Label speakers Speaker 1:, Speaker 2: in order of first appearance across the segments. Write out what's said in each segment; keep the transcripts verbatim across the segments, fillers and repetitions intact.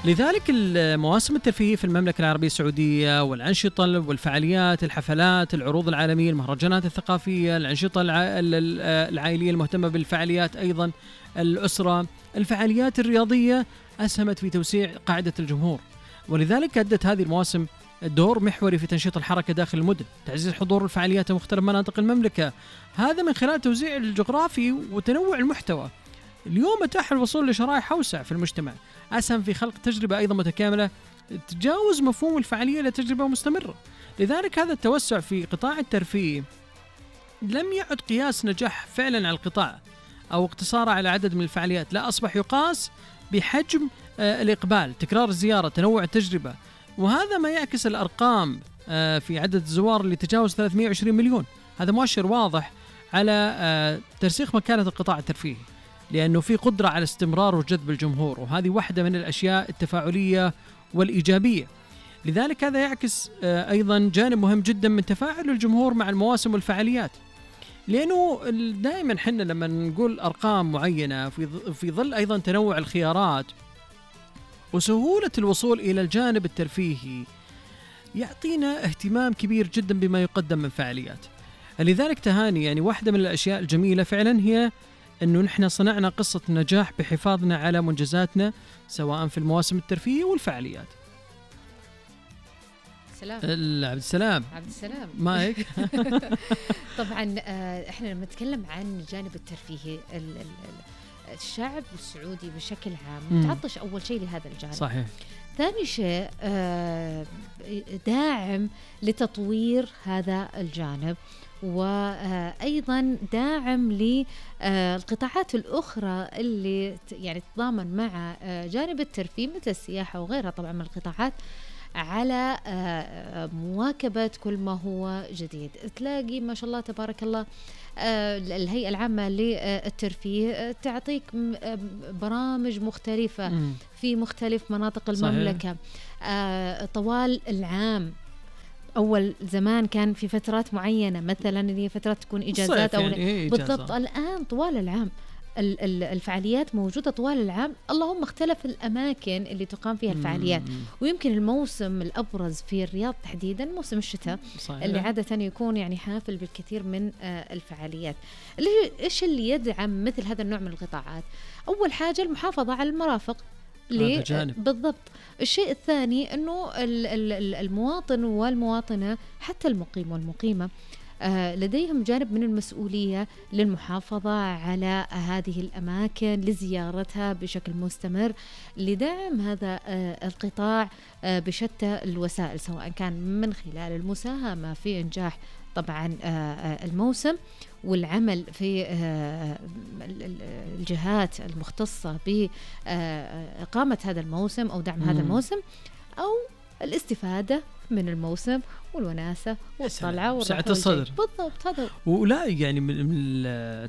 Speaker 1: لذلك المواسم الترفيهية في المملكة العربية السعودية والأنشطة والفعاليات، الحفلات، العروض العالمية، المهرجانات الثقافية، الأنشطة العائلية المهتمة بالفعاليات، أيضا الأسرة، الفعاليات الرياضية، أسهمت في توسيع قاعدة الجمهور. ولذلك أدت هذه المواسم دور محوري في تنشيط الحركة داخل المدن، تعزيز حضور الفعاليات في مختلف مناطق المملكة، هذا من خلال توزيع الجغرافي وتنوع المحتوى. اليوم أتاح الوصول لشرائح أوسع في المجتمع، أسهم في خلق تجربة أيضا متكاملة تجاوز مفهوم الفعالية لتجربة مستمرة. لذلك هذا التوسع في قطاع الترفيه لم يعد قياس نجاح فعلا على القطاع أو اقتصاره على عدد من الفعاليات، لا، أصبح يقاس بحجم الإقبال، تكرار الزيارة، تنوع التجربة. وهذا ما يعكس الأرقام في عدد الزوار اللي تجاوز ثلاثمائة وعشرين مليون. هذا مؤشر واضح على ترسيخ مكانة القطاع الترفيهي، لأنه في قدرة على استمرار وجذب الجمهور، وهذه واحدة من الأشياء التفاعلية والإيجابية. لذلك هذا يعكس أيضا جانب مهم جدا من تفاعل الجمهور مع المواسم والفعاليات، لأنه دائما حنا لما نقول أرقام معينة في ظل أيضا تنوع الخيارات وسهولة الوصول إلى الجانب الترفيهي يعطينا اهتمام كبير جدا بما يقدم من فعاليات. لذلك تهاني، يعني واحدة من الأشياء الجميلة فعلا هي أنه نحن صنعنا قصة نجاح بحفاظنا على منجزاتنا سواء في المواسم الترفيهية والفعاليات.
Speaker 2: سلام
Speaker 1: عبد السلام
Speaker 2: عبد السلام
Speaker 1: مايك.
Speaker 2: طبعا احنا لما نتكلم عن الجانب الترفيهي، الشعب السعودي بشكل عام متعطش أول شيء لهذا الجانب.
Speaker 1: صحيح.
Speaker 2: ثاني شيء داعم لتطوير هذا الجانب، وأيضا داعم للقطاعات الأخرى اللي يعني تتضامن مع جانب الترفيه مثل السياحة وغيرها طبعا من القطاعات، على مواكبة كل ما هو جديد. تلاقي ما شاء الله تبارك الله الهيئة العامة للترفيه تعطيك برامج مختلفة مم. في مختلف مناطق المملكة. صحيح. طوال العام، أول زمان كان في فترات معينة مثلا اللي هي فترات تكون إجازات أو
Speaker 1: يعني إيه
Speaker 2: بالضبط. الآن طوال العام الفعاليات موجودة طوال العام، اللهم اختلف الأماكن اللي تقام فيها الفعاليات. ويمكن الموسم الأبرز في الرياض تحديدا موسم الشتاء. صحيح. اللي عادة يكون يعني حافل بالكثير من الفعاليات. إيش اللي يدعم مثل هذا النوع من القطاعات؟ أول حاجة المحافظة على المرافق. بالضبط. الشيء الثاني أنه المواطن والمواطنة حتى المقيم والمقيمة لديهم جانب من المسؤولية للمحافظة على هذه الأماكن، لزيارتها بشكل مستمر، لدعم هذا القطاع بشتى الوسائل، سواء كان من خلال المساهمة في إنجاح طبعا الموسم والعمل في الجهات المختصة بإقامة هذا الموسم أو دعم هذا الموسم، أو الاستفادة من الموسم والوناسة والطلعة
Speaker 1: وسعة الصدر.
Speaker 2: بالضبط. هذا
Speaker 1: ولا يعني من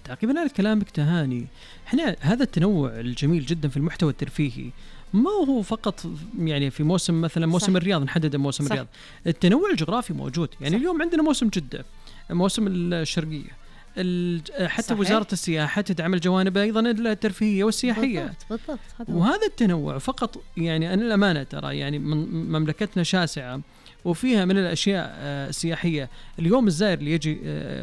Speaker 1: تعقيبنا على كلامك تهاني، احنا هذا التنوع الجميل جدا في المحتوى الترفيهي ما هو فقط يعني في موسم مثلا موسم صح. الرياض، نحدد موسم صح. الرياض، التنوع الجغرافي موجود. يعني صح. اليوم عندنا موسم جدة، موسم الشرقية، حتى صحيح. وزارة السياحة تدعم الجوانب أيضا الترفيهية والسياحية.
Speaker 2: بالضبط. بالضبط.
Speaker 1: وهذا التنوع فقط يعني أنا الأمانة ترى يعني مملكتنا شاسعة وفيها من الأشياء السياحية. اليوم الزائر اللي يجي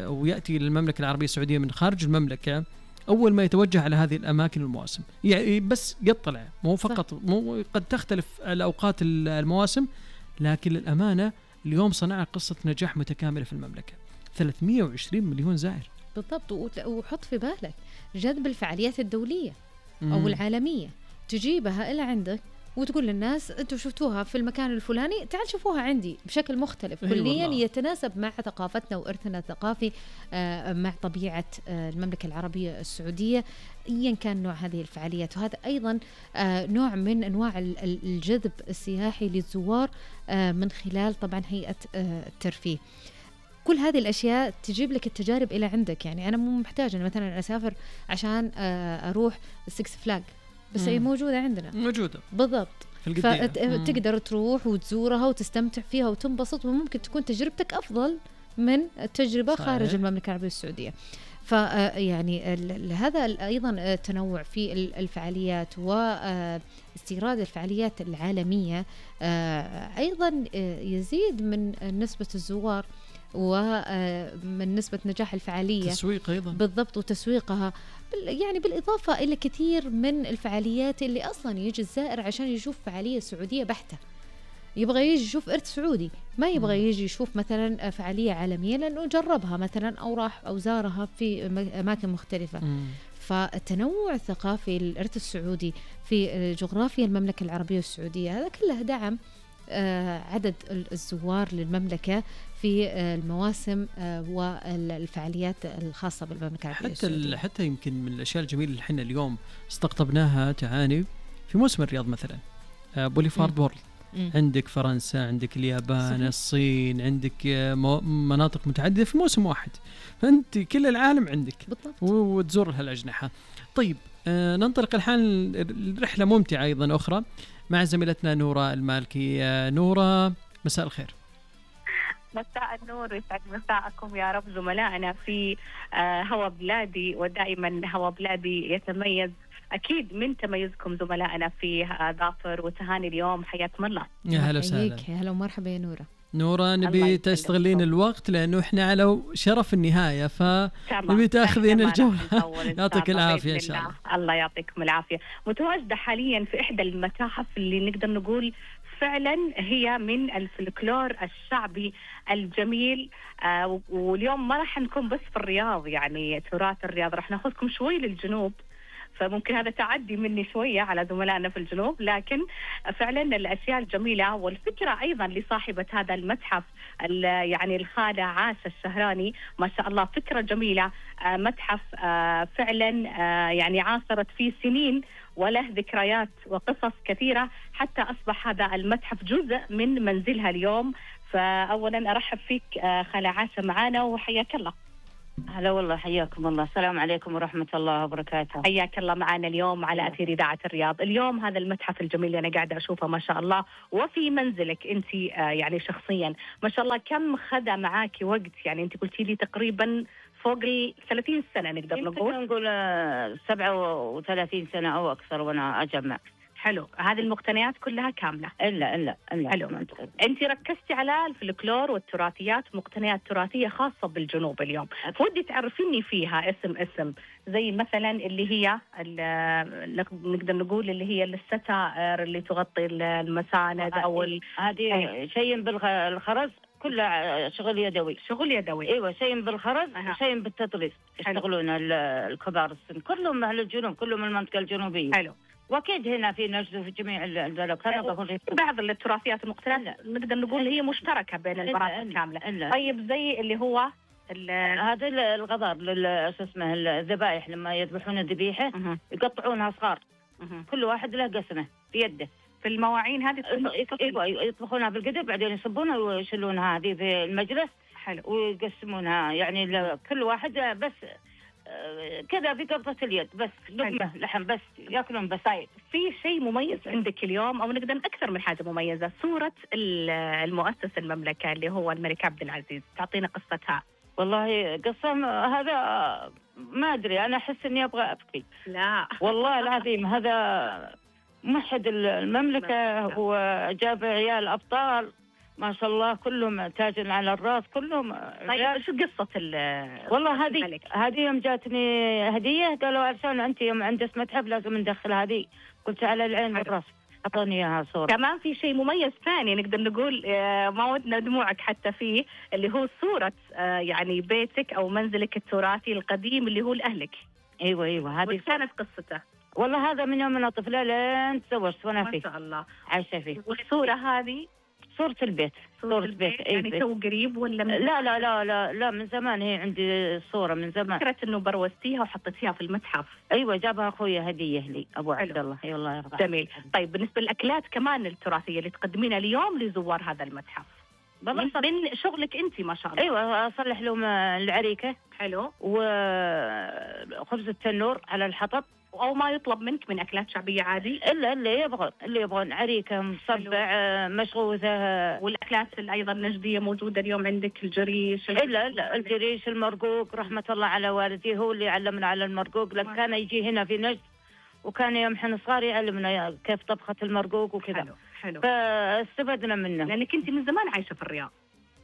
Speaker 1: ويأتي للمملكة العربية السعودية من خارج المملكة، أول ما يتوجه على هذه الأماكن والمواسم يعني بس يطلع، مو فقط مو قد تختلف الأوقات المواسم، لكن الأمانة اليوم صنع قصة نجاح متكاملة في المملكة. ثلاثمائة وعشرين مليون زائر.
Speaker 2: بالضبط. وحط في بالك جذب الفعاليات الدولية مم. أو العالمية، تجيبها إلى عندك وتقول للناس أنتوا شفتوها في المكان الفلاني، تعال شوفوها عندي بشكل مختلف كليا يتناسب مع ثقافتنا وإرثنا الثقافي، مع طبيعة المملكة العربية السعودية، أيا كان نوع هذه الفعاليات. وهذا أيضا نوع من أنواع الجذب السياحي للزوار من خلال طبعا هيئة الترفيه. كل هذه الأشياء تجيب لك التجارب إلى عندك. يعني أنا مو محتاج أنا مثلا أسافر عشان أروح السكس فلاج، بس هي موجودة عندنا،
Speaker 1: موجودة
Speaker 2: بالضبط. فتقدر تروح وتزورها وتستمتع فيها وتنبسط، وممكن تكون تجربتك أفضل من التجربة صحيح. خارج المملكة العربية السعودية. فيعني هذا أيضا التنوع في الفعاليات واستيراد الفعاليات العالمية أيضا يزيد من نسبة الزوار ومن نسبة نجاح الفعالية،
Speaker 1: تسويق أيضا
Speaker 2: بالضبط، وتسويقها يعني بالإضافة إلى كثير من الفعاليات اللي أصلا يجي الزائر عشان يشوف فعالية سعودية بحتة، يبغى يجي يشوف إرث سعودي، ما يبغى يجي يشوف مثلا فعالية عالمية لأنه جربها مثلا أو راح أو زارها في أماكن مختلفة. مم. فالتنوع الثقافي للإرث السعودي في جغرافيا المملكة العربية السعودية هذا كله دعم عدد الزوار للمملكة في المواسم والفعاليات الخاصة بالمملكة العربية السعودية.
Speaker 1: حتى حتى يمكن من الأشياء الجميلة اللي احنا اليوم استقطبناها تعاني في موسم الرياض مثلا بوليفارد وورلد، عندك فرنسا، عندك اليابان، صحيح. الصين، عندك مناطق متعددة في موسم واحد، فأنت كل العالم عندك بالضبط. وتزور لها الأجنحة. طيب آه ننطلق الحين رحلة ممتعة أيضا أخرى مع زميلتنا نورة المالكي. آه نورة، مساء الخير.
Speaker 3: مساء النور، يسعد مساءكم يا رب زملائنا في آه هوا بلادي، ودائما هوا بلادي يتميز أكيد من تميزكم زملائنا في ظافر وتهاني اليوم. حياكم الله.
Speaker 1: يا هلا وسهلا.
Speaker 2: يا هلا ومرحبا يا نورة.
Speaker 1: نورة، نبي تستغلين الوقت لأنه إحنا على شرف النهاية، فنبي تأخذين الجولة. يعطيك العافية إن شاء الله.
Speaker 3: الله يعطيكم العافية. متواجدة حاليا في إحدى المتاحف اللي نقدر نقول فعلا هي من الفلكلور الشعبي الجميل. آه واليوم ما راح نكون بس في الرياض، يعني تراث الرياض، راح ناخذكم شوي للجنوب، فممكن هذا تعدي مني شوية على زملائنا في الجنوب، لكن فعلا الأشياء الجميلة والفكرة أيضا لصاحبة هذا المتحف يعني الخالة عاشة الشهراني، ما شاء الله فكرة جميلة. آه متحف آه فعلا آه يعني عاصرت فيه سنين وله ذكريات وقصص كثيرة حتى أصبح هذا المتحف جزء من منزلها اليوم. فأولا أرحب فيك آه خالة عاشة معانا وحياك الله.
Speaker 4: هلا والله، حياكم الله. السلام عليكم ورحمة الله وبركاته.
Speaker 3: حياك الله معنا اليوم على أثير إذاعة الرياض. اليوم هذا المتحف الجميل اللي أنا قاعدة أشوفه ما شاء الله، وفي منزلك أنت آه يعني شخصيا ما شاء الله، كم خذ معاك وقت؟ يعني أنت قلتي لي تقريبا فوق ال ثلاثين سنة نقدر نقول.
Speaker 4: نقول سبعة وثلاثين سنة أو أكثر وأنا أجمع.
Speaker 3: حلو. هذه المقتنيات كلها كاملة؟
Speaker 4: إلا إلا إلا.
Speaker 3: حلو. أنت ركزتي على الفلكلور والتراثيات، مقتنيات تراثية خاصة بالجنوب اليوم، ودي تعرفيني فيها اسم اسم زي مثلا اللي هي نقدر نقول اللي هي الستائر اللي تغطي المساند أو
Speaker 4: هذه شيء بالخرز، كله شغل يدوي.
Speaker 3: شغل يدوي.
Speaker 4: ايوه، شيء بالخرز وشيء بالتطريز يشتغلون الكبار السن، كلهم اهل الجنوب، كلهم من المنطقه الجنوبيه.
Speaker 3: حلو.
Speaker 4: واكيد هنا في نجد وفي جميع البلاد.
Speaker 3: بعض التراثيات المقتنيات نقدر نقول هي مشتركه بين المرافق كامله. طيب زي اللي هو
Speaker 4: هذا الغضار شو اسمه الذبائح، لما يذبحون الذبيحه يقطعونها صغار، كل واحد له قسمه في يده.
Speaker 3: في المواعين هذه
Speaker 4: ايوه يطبخونها بالقدر، بعدين يصبونها ويشيلونها هذه في المجلس.
Speaker 3: حلو.
Speaker 4: ويقسمونها يعني كل واحد بس كذا بقبضة اليد، بس لحمة لحم بس ياكلون بس.
Speaker 3: طيب في شيء مميز عندك اليوم، او نقدر اكثر من حاجة مميزة، صورة المؤسس المملكة اللي هو الملك عبد العزيز، تعطينا قصتها.
Speaker 4: والله قصة هذا ما ادري، انا احس اني ابغى ابكي.
Speaker 3: لا
Speaker 4: والله العظيم، هذا موحد المملكة وجاب عيال ابطال ما شاء الله، كلهم تاج على الراس، كلهم.
Speaker 3: طيب شو قصة ال
Speaker 4: والله هذه هذه يوم جاتني هدية، قالوا عشان أنت يوم عندك متحف لازم ندخل هذه، قلت على العين والراس، أعطوني إياها صورة.
Speaker 3: كمان في شيء مميز ثاني نقدر نقول ما ودنا دموعك حتى فيه، اللي هو صورة يعني بيتك أو منزلك التراثي القديم اللي هو لأهلك.
Speaker 4: أيوة أيوة. هذه
Speaker 3: كانت قصته؟
Speaker 4: والله هذا من يوم أنا طفلة لين تزوجت وأنا فيه.
Speaker 3: ما شاء الله.
Speaker 4: عايشة فيه.
Speaker 3: والصورة هذه
Speaker 4: صورة البيت.
Speaker 3: صورة البيت يعني تو قريب ولا من
Speaker 4: لا لا لا لا لا من زمان، هي عندي صورة من زمان.
Speaker 3: فكرة إنه بروزتيها وحطيتيها في المتحف.
Speaker 4: أيوة، جابها أخويا هدية لي أبو عبد الله. أي والله يرضى.
Speaker 3: جميل. طيب بالنسبة للأكلات كمان التراثية اللي تقدمينها اليوم لزوار هذا المتحف، من شغلك أنت ما شاء الله.
Speaker 4: أيوة، أصلح لهم العريكة.
Speaker 3: حلو.
Speaker 4: وخبز التنور على الحطب.
Speaker 3: أو ما يطلب منك من أكلات شعبية عادي؟
Speaker 4: إلا اللي يبغون اللي يبغون عريكة، مصبع، مشغوثة.
Speaker 3: والأكلات أيضا النجدية موجودة اليوم عندك، الجريش؟
Speaker 4: إلا لا الجريش، المرقوق، رحمة الله على والدي هو اللي علمنا على المرقوق، لأن كان يجي هنا في نجد وكان يوم احنا صغار يعلمنا كيف طبخة المرقوق وكذا.
Speaker 3: حلو حلو.
Speaker 4: فاستفدنا منه.
Speaker 3: لأنك أنت من زمان عايشة في الرياض.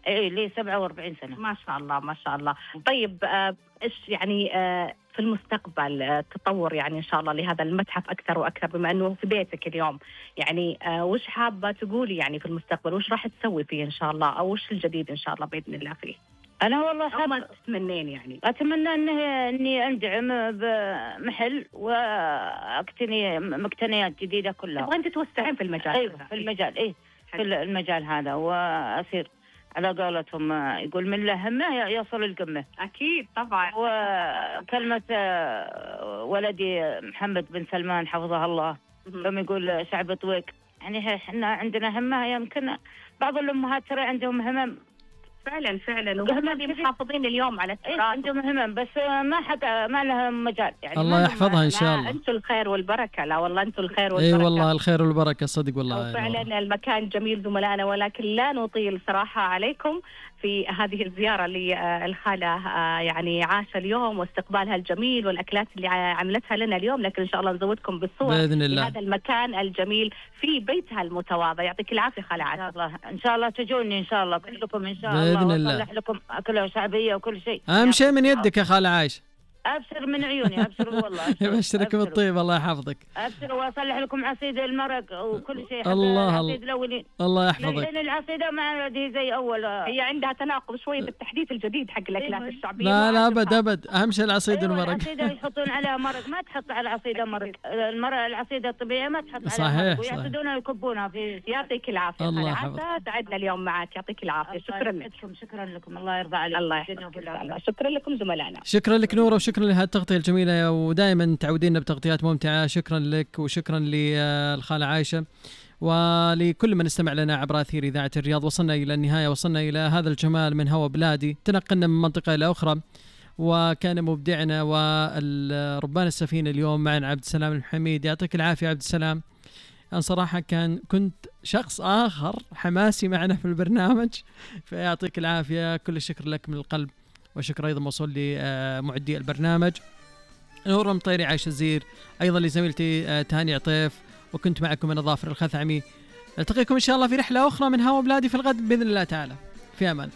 Speaker 4: ايه لي سبعة وأربعين سنة.
Speaker 3: ما شاء الله ما شاء الله. طيب آه ايش يعني آه في المستقبل آه تطور يعني ان شاء الله لهذا المتحف اكثر واكثر، بما انه في بيتك اليوم، يعني آه وش حابة تقولي يعني في المستقبل، وش راح تسوي فيه ان شاء الله، او وش الجديد ان شاء الله باذن الله فيه؟
Speaker 4: انا والله
Speaker 3: حابة تتمنين يعني؟
Speaker 4: اتمنى اني اني اندعم بمحل واقتني مقتنيات جديدة كلها.
Speaker 3: تبغين تتوسعين في المجال؟
Speaker 4: ايوه في المجال، ايه في المجال هذا، واصير على قولتهم يقول من له همه يصل القمة.
Speaker 3: أكيد طبعا.
Speaker 4: وكلمة ولدي محمد بن سلمان حفظه الله يوم يقول شعب طويق، يعني احنا عندنا همه، يمكن بعض الأمهات ترى عندهم همم
Speaker 3: فعلا فعلا، وهم اللي محافظين اليوم على التراث.
Speaker 4: عندهم همم بس ما حد ما لها مجال يعني.
Speaker 1: الله يحفظها ان شاء الله.
Speaker 3: انتم الخير والبركه. لا والله انتم الخير والبركه.
Speaker 1: اي والله الخير والبركه صدق والله.
Speaker 3: فعلا المكان جميل زملائنا، ولكن لا نطيل صراحه عليكم في هذه الزياره للخاله يعني عاشة اليوم، واستقبالها الجميل والاكلات اللي عملتها لنا اليوم، لكن ان شاء الله نزودكم بالصور
Speaker 1: باذن الله
Speaker 3: هذا المكان الجميل في بيتها المتواضع. يعطيك العافيه خاله عاشة.
Speaker 4: ان شاء الله تجوني ان شاء الله كلكم ان شاء الله
Speaker 1: باذن الله،
Speaker 4: واصلح لكم اكله شعبيه وكل شيء.
Speaker 1: اهم شيء من يدك يا خاله عايشه.
Speaker 4: ابشر من عيوني، ابشر والله.
Speaker 1: يبشرك بالطيب، الله يحفظك.
Speaker 4: ابشر واصلح لكم عصيد المرق وكل شيء.
Speaker 1: الله
Speaker 4: عصيد الاولين
Speaker 1: الله يحفظك.
Speaker 4: لان العصيده ما عندي زي اول،
Speaker 3: هي عندها تناقض شويه بالتحديث الجديد حق الاكلات الشعبيه.
Speaker 1: لا لا ابد ابد، اهم شيء العصيد
Speaker 4: أيوة
Speaker 1: والمرق.
Speaker 4: العصيده يحطون عليها مرق، ما تحط على العصيده مرق. المرق العصيده الطبيعيه ما تحط عليها
Speaker 1: صحيح
Speaker 4: مرق، ويعصدونها ويكبونها في.
Speaker 3: يعطيك العافيه
Speaker 1: الله
Speaker 3: يحفظك. سعدنا اليوم معك، يعطيك العافيه. شكرا لك.
Speaker 4: شكرا لكم، الله يرضى عليك.
Speaker 3: الله يحفظك. شكرا لكم زملائنا.
Speaker 1: شكرا لك نورة، وشكرا لهذه التغطيه الجميله، ودائما تعودينا بتغطيات ممتعه. شكرا لك وشكرا للخاله عايشه ولكل من استمع لنا عبر أثير إذاعة الرياض. وصلنا إلى النهاية، وصلنا إلى هذا الجمال من هوا بلادي، تنقلنا من منطقة إلى أخرى، وكان مبدعنا وربان السفينة اليوم معنا عبد السلام الحميد. يعطيك العافية عبد السلام، أنا صراحة كان كنت شخص آخر حماسي معنا في البرنامج، فيعطيك العافية. كل الشكر لك من القلب، وشكر أيضا موصول لمعدي البرنامج نور المطيري، عايش الزير، أيضا لزميلتي تهاني عطيف، وكنت معكم من ظافر الخثعمي. نلتقيكم إن شاء الله في رحلة أخرى من هوا بلادي في الغد بإذن الله تعالى. في أمان.